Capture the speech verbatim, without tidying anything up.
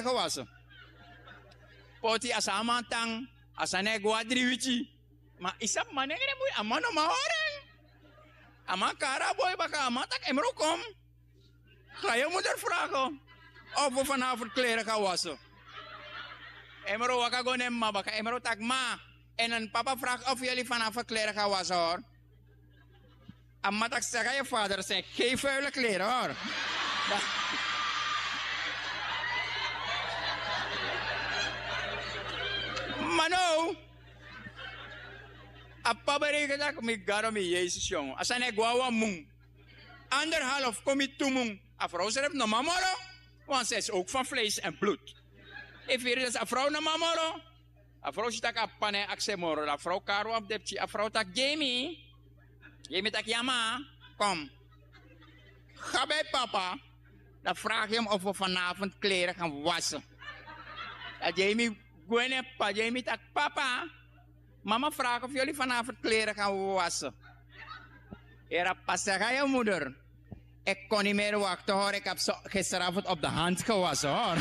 gewassen. Poti a san a man tan, a sani e go na dri wiki. Ma yu sabi manengre boi, a man no man hori en. A man kari a boi baka, a man taki: Emro, kom. Ga yu moeder vragen of we vanavond kleren gaan wassen. Emro waka go na en mama baka, Emro taki: Ma, en papa vraagt of jullie vanavond kleren gaan wassen, hoor. A mama taki: Zeg aan je vader, er zijn geen vuile kleren, hoor. Ma now, a papa bereken taki: Mi Gado, mi Yesus, yongu, a sani e go na wan mun. Anderhalf kon miti tu mun. A vrouw srefi no man moro, want zij is ook van vlees en bloed. Efu yu yere, dus a vrouw no man moro. A vrouw si taki a papa no e aksi en moro. Dan a vrouw kari wan fu den pikin. A vrouw taki: Jamie. Jamie taki: Ya, ma. Kom. Ga bij papa. Dan vraag je hem of we vanavond kleren gaan wassen. Dan Jamie gwe na en papa. Jamie taki: Papa, mama vraagt of jullie vanavond kleren gaan wassen. Yere, a papa sê: Ga aan je moeder. Ik kon niet meer wachten, hoor. Ik heb ze gisteravond op de hand gewassen, hoor.